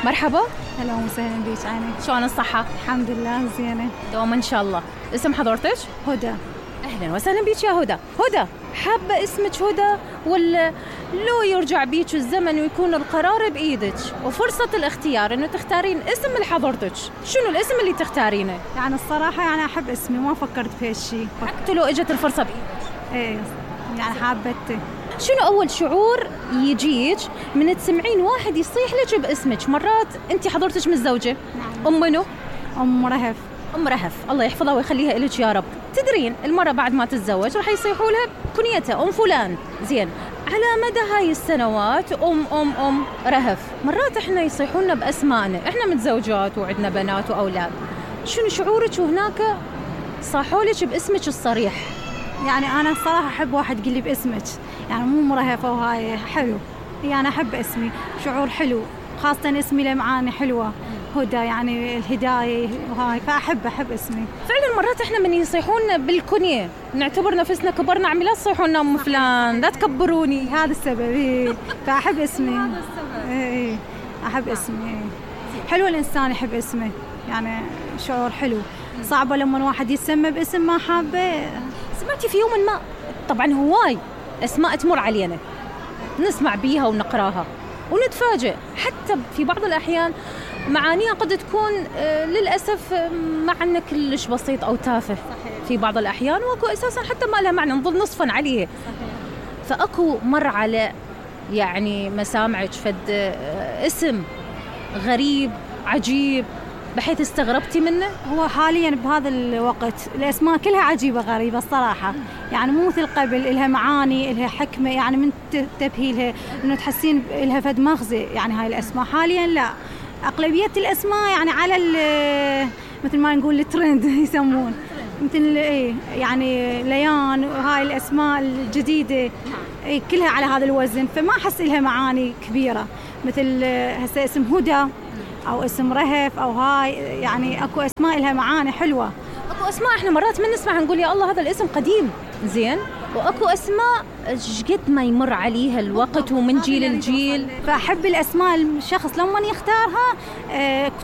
مرحبا. هلا وسهلا بيك عيني. شلون الصحة؟ الحمد لله زينة. دوما إن شاء الله. اسم حضرتك؟ هدى. أهلا وسهلا بيك يا هدى. هدى، حابة اسمك هدى ولا لو يرجع بيك الزمن ويكون القرار بإيدك وفرصة الاختيار إنه تختارين اسم لحضرتك، شنو الاسم اللي تختارينه؟ يعني الصراحة يعني أحب اسمي، ما فكرت في هالشي. حتى لو إجت الفرصة بإيدك؟ إيه يعني حابته. شنو أول شعور يجيك من تسمعين واحد يصيح لك باسمك؟ مرات أنت حضرتك متزوجة؟ نعم. منو؟ أم رهف. أم رهف، الله يحفظها ويخليها إلك يا رب. تدرين المرة بعد ما تتزوج راح يصيحوا لها كنيتها أم فلان. زين، على مدى هاي السنوات أم رهف، مرات إحنا يصيحونا بأسمائنا، إحنا متزوجات وعندنا بنات وأولاد. شنو شعورك وهناك صاحولك باسمك الصريح؟ يعني أنا الصراحة أحب واحد يقول لي باسمك، يعني مو مرهفة وهاي حلو، يعني أحب اسمي، شعور حلو، خاصة اسمي له معاني حلوة، هدى يعني الهداية وهاي، فأحب اسمي. فعلا مرات احنا من يصيحونا بالكنية نعتبر نفسنا كبرنا، عمي لا تصيحونا ام فلان، لا تكبروني. هذا السبب. إيه. فأحب اسمي. هذا السبب. إيه أحب اسمي. حلو الإنسان يحب اسمه، يعني شعور حلو. صعبة لما واحد يسمى باسم ما حابه. سمعتي في يوم ما، طبعا هواي اسماء تمر علينا نسمع بيها ونقراها ونتفاجئ، حتى في بعض الأحيان معانيها قد تكون للأسف معنى كلش بسيط أو تافه. صحيح. في بعض الأحيان واكو أساساً حتى ما لها معنى، نظل نصفاً عليه. صحيح. فأكو مر على يعني مسامعك فد اسم غريب عجيب بحيث استغربتي منه؟ هو حالياً بهذا الوقت الأسماء كلها عجيبة غريبة الصراحة، يعني مو مثل قبل، إلها معاني، إلها حكمة، يعني من تبهيلها إنه تحسين إلها فد مغزى. يعني هاي الأسماء حالياً لا، أغلبية الأسماء يعني على مثل ما نقول الترند يسمون، مثل إيه يعني ليان وهاي الأسماء الجديدة إيه كلها على هذا الوزن، فما أحس إلها معاني كبيرة مثل هسه اسم هدى أو اسم رهف أو هاي، يعني أكو أسماء لها معاني حلوة. أكو أسماء إحنا مرات من نسمع نقول يا الله هذا الاسم قديم. زين، وأكو أسماء قد ما يمر عليها الوقت ومن جيل لجيل. فأحب الأسماء الشخص لما يختارها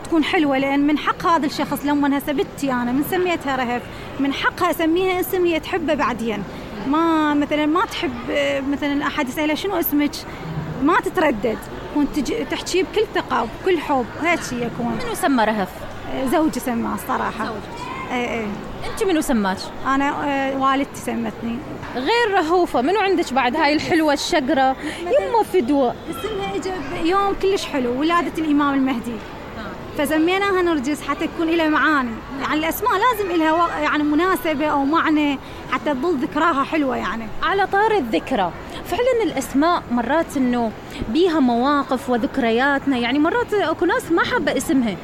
تكون حلوة، لأن من حق هذا الشخص لما هسه بنتي أنا من سميتها رهف من حقها أسميها اسم هي تحبه بعدين، ما مثلا ما تحب مثلا أحد يسألها شنو اسمك ما تتردد، كنت تحكي بكل ثقة وبكل حب، هيك يكون. منو سمى رهف؟ زوجي سماه الصراحة. زوجك؟ ايه. انت منو سماك؟ انا والدتي سمتني. غير رهوفة منو عندك بعد هاي الحلوة الشقرة؟ يمه فدوة. اسمها اجى يوم كلش حلو، ولادة الامام المهدي، فسميناها نرجس حتى تكون لها معاني. يعني الاسماء لازم لها يعني مناسبة او معنى حتى تظل ذكراها حلوة. يعني على طار الذكرى، فعلا الاسماء مرات انه بيها مواقف وذكرياتنا، يعني مرات اكو ناس ما حابة اسمها،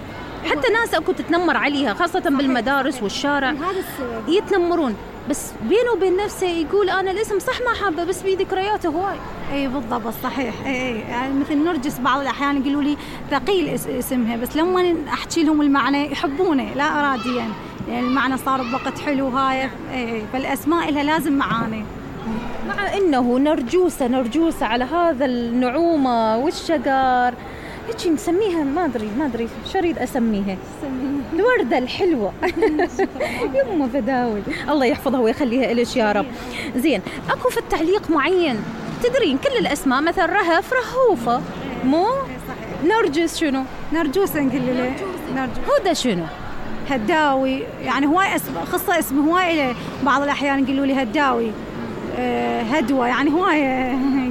حتى ناس اكو تتنمر عليها خاصة بالمدارس والشارع. هذا السبب يتنمرون، بس بينه وبين نفسه يقول انا الاسم صح ما حابه بس بيه ذكرياته هواي. اي بالضبط صحيح. اي يعني مثل نرجس بعض الاحيان يقولوا لي ثقيل اسمها، بس لما احكي لهم المعنى يحبونه لا اراديا، يعني المعنى صار بوقت حلو هاي. فالاسماء لها لازم معاني، مع انه نرجوسه على هذا النعومه والشجر هيك نسميها. ما ادري شو اريد اسميها. الوردة الحلوة. يمه فداول، الله يحفظها ويخليها إليش يا رب. زين، اكو في التعليق معين تدرين كل الاسماء مثل رهف رهوفة، مو نرجس شنو؟ نرجوس نقول له هدى شنو؟ هداوي، يعني هواي خصة اسم هواي له بعض الأحيان يقولوا لي هداوي، هدوة، يعني هواي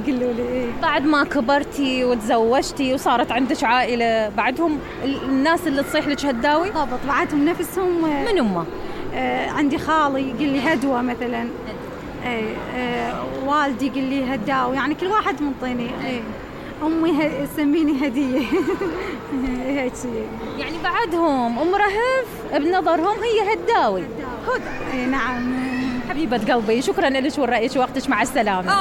يقولوا لي. بعد ما كبرتي وتزوجتي وصارت عندك عائلة بعدهم الناس اللي تصيح لك هداوي؟ بالضبط، بعدهم نفسهم. من أمه؟ عندي خالي يقول لي هدوة مثلا، والدي يقول لي هداوي، يعني كل واحد منطيني. أمي تسميني هدية. هيك يعني بعدهم أم رهف بنظرهم هي هداوي. نعم. حبيبة قلبي، شكرا لك ورأيك ووقتك، مع السلامة.